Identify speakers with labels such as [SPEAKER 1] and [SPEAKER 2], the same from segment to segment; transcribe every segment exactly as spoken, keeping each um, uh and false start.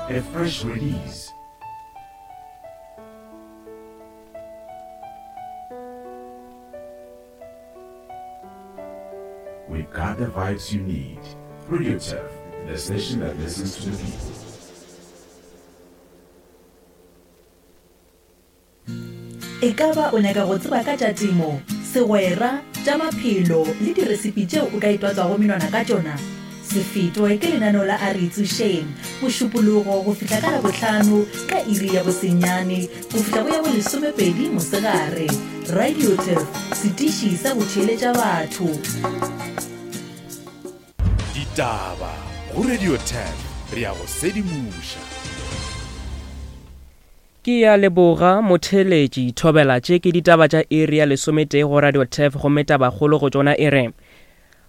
[SPEAKER 1] A fresh release. We've got the vibes you need. Radio Turf, the station that listens to the people.
[SPEAKER 2] E ka ba o nyaka go tseba ka tša temo, segwera, tša maphelo le diresipi tšeo o ka itwatswago menwana ka tšona? Se fetwe ke lenaneo la A Re Itsošeng, Mošupologo go fihla ka Labohlano ka iri ya bosenyane go fihla go ya bolesomepedi mosegare. Radio Turf, setiši sa go theeletša batho.
[SPEAKER 1] Ditaba go Radio Turf, re a go sedimoša.
[SPEAKER 3] Ke ya leboga motheletši thobela tše ke ditaba tša iri ya lesometee go Radio Turf gomme tabakgolo go tšona e re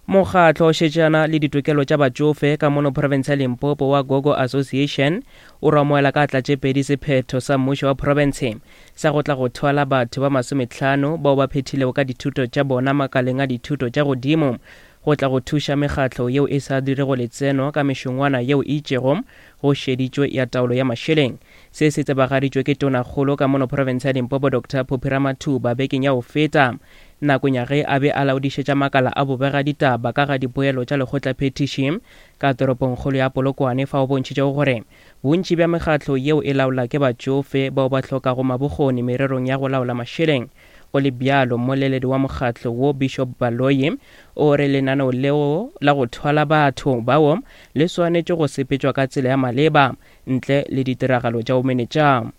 [SPEAKER 3] mokgatlo o šetšana le ditokelo tša batšofe ka mono province ya Limpopo wa Gogo Association o ramoela ka tla tše pedi sephetho sa mmušo wa province sa go tla go thwala batho ba masometlhano bao ba phethilego ka dithuto tša bona makaleng a dithuto tša godimo go tla go thuša mekgatlo yeo e sa dirego letseno ka mešongwana yeo e itšego go šeditšwe ya taolo ya mašeleng. Se se tsebagaditšwe ke tonakgolo ka mono province ya Limpopo Doctor Phophi Ramathuba bekeng ya go feta nakong ya ge a be a laodišetša makala a bobega ditaba ka ga dipoelo tša lekgotlaphethiši ka toropongkgolo ya Polokwane fa o bontšhitšego gore bontši bja mekgatlo yeo e laola ke batšofe bao ba hlokago mabokgoni mererong ya go laola mašeleng. Go le bjalo mmoleledi wa mokgatlo wo Bishop Baloyi o re lenaneo leo la go thwala batho bao le swanetše go sepetšwa ka tsela ya maleba ntle le ditiragalo tša bomenetša.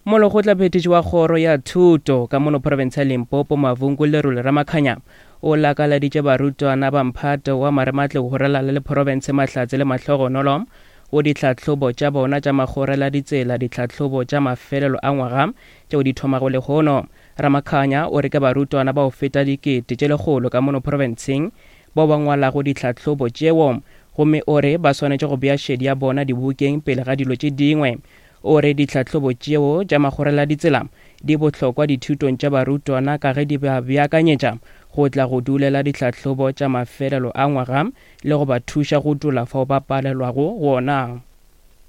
[SPEAKER 3] Molekgotlaphethiši wa kgoro ya thuto ka mono province ya Limpopo Mavungu Lerole Ramakhanya o lakaladitše barutwana ba mphato wa marematlou go ralala le province Mahlatse le Mahlogonolo go ditlhahlobo tša bona tša magorela ditsela ditlhahlobo tša mafelelo a ngwaga tšeo di thomago lehono. Ramakhanya o re ke barutwana ba go feta dikete tše lekgolo ka mono provinceng bao ba ngwalago ditlhahlobo tšeo gomme o re ba swanetše go bea šedi ya bona dibukeng pele ga dilo tše dingwe. O re ditlhahlobo tšeo tša magorela ditsela di bohlokwa dithutong tša barutwana ka ge di ba beakanyetša go tla go dulela ditlhahlobo tša mafelelo a ngwaga le go ba thuša go tula fao ba palelwago gona.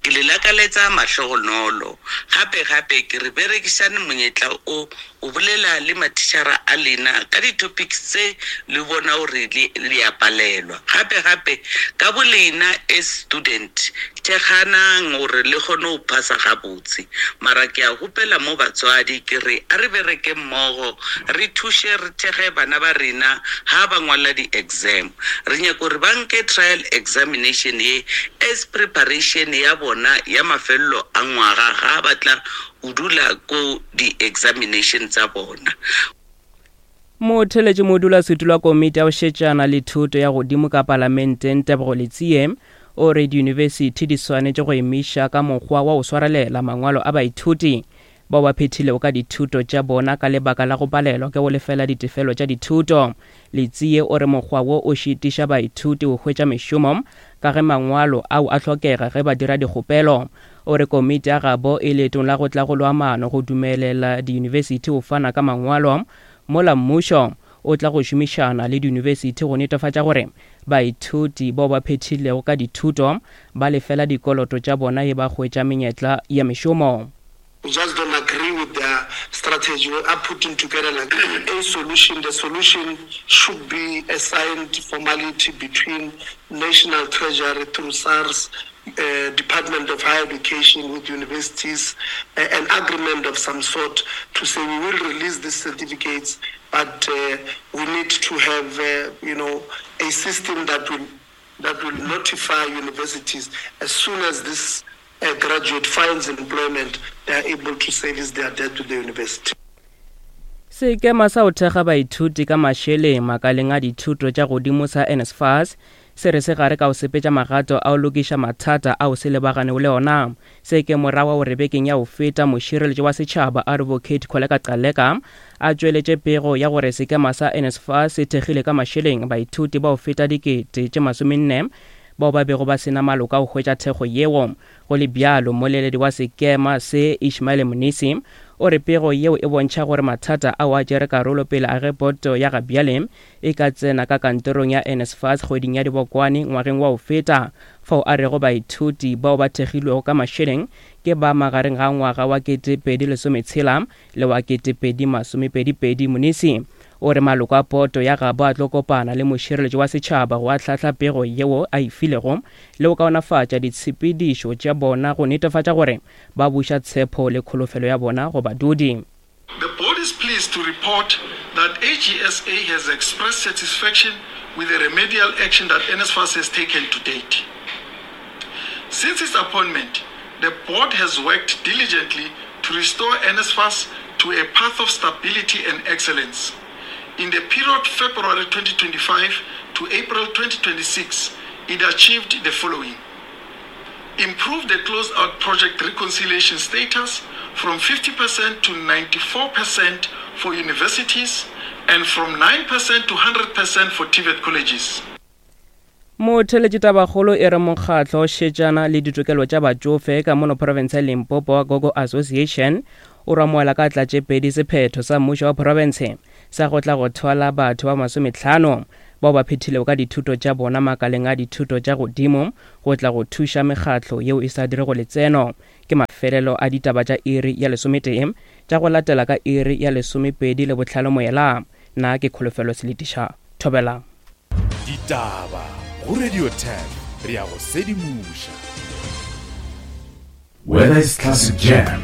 [SPEAKER 4] Ke le lakaletsa mahlogonolo gape gape ke re berekišane monyetla o o bolela le mathišara a lena ka di-topics tse le bona gore le a palelwa. Gape gape ka bo lena as student thekganang gore le kgone go phasa gabotse. Mara ke a gopela mo batswadi ke re a re bereke mmogo re thuše re thekge bana ba rena ha ba ngwala di-exam. Re nyaka gore ba nke trial examination ye as preparation ya bona ya mafelelo a ngwaga ga ba tla o dula ko di-examination tsa bona.
[SPEAKER 3] Motheletši modulasetulo wa komiti ya go šetšana le thuto ya godimo ka palamenteng Tebogo Letsie o re diyunibesithi di swanetše go emiša ka mokgwa wa go swarelela mangwalo a baithuti bao ba phethilego ka dithuto tša bona ka lebaka la go palelwa ke go lefela ditefelo tša dithuto. Letsie o re mokgwa wo o šitiša baithuti go hwetša mešomo ka ge mangwalo ao a hlokega ge ba dira dikgopelo. O re komiti ya gabo e leetong la go tla go lwa maano go dumelela diyunibesithi go fana ka mangwalo mola mmušo o tla go šomišana le diyunibesithi go netefatša gore baithuti bao ba phethilego ka dithuto ba lefela dikoloto tša bona e ba hwetša menyetla ya mešomo.
[SPEAKER 5] We just don't agree with their strategy. We are putting together like a solution. The solution should be a signed formality between National Treasury through SARS, uh, Department of Higher Education with universities, uh, an agreement of some sort to say we will release these certificates, but uh, we need to have, uh, you know, a system that will that will notify universities as soon as this a graduate finds employment, they are able to service their debt to the university.
[SPEAKER 3] Sekema sa go thekga baithuti ka mašeleng makaleng a dithuto tša godimo sa N S F A S se re se gare ka go sepetša magato a go lokiša mathata ao se lebaganego le ona. Se ke morago gore bekeng ya go feta mošireletši wa setšhaba Advocate Kholeka Gcaleka a tšweletše pego ya gore sekema sa N S F A S se thekgile ka mašeleng baithuti ba go feta dikete tše masomenne bao ba bego ba sena maloka go hwetša thekgo yeo. Go le bjalo mmoleledi wa sekema se Ishmael Mnisi o re pego yeo e bontšha gore mathata ao a tšere karolo pele a ge boto ya gabjale e ka tsena ka kantorong ya N S F A S kgweding ya Dibokwane ngwageng wa go feta Fao a rego baithuti bao ba thekgilwego ka mašeleng ke ba magareng ga ngwaga wa kete pedi lesometshela le wa kete pedi masomepedi pedi. Munisi o re maloko a poto ya gabo a tlo kopana le mošireletši wa setšhaba go ahlahla pego yeo a e filego le go kaonafatša ditshepedišo tša bona go netefatša gore ba buša tshepo le kholofelo ya bona go badudi.
[SPEAKER 6] The board is pleased to report that A G S A has expressed satisfaction with the remedial action that N S F A S has taken to date. Since its appointment, the board has worked diligently to restore N S F A S to a path of stability and excellence. In the period February twenty twenty-five to April twenty twenty-six, it achieved the following. Improved the closed-out project reconciliation status from fifty percent to ninety-four percent for universities and from nine percent to hundred percent for T V E T colleges.
[SPEAKER 3] Motheletši tabakgolo e re mokgatlo šetšana le ditokelo tša batšofe ka mono province ya Limpopo wa Gogo Association o ramoela ka tlatše pedi sephetho sa mmušo wa province sa go tla go thwala batho ba masometlhano bao ba phethilego ka dithuto tša bona makaleng a dithuto tša godimo go tla go thuša mekgatlo yeo e sa dirego letseno. Ke mafelelo a ditaba tša iri ya lesometee tša go latela ka iri ya lesomepedi le bohlano moela. Nna ke Kholofelo Seletiša. Thobela.
[SPEAKER 1] Ditaba go Radio ten re ya go sedimoša. Whether it's classic jam,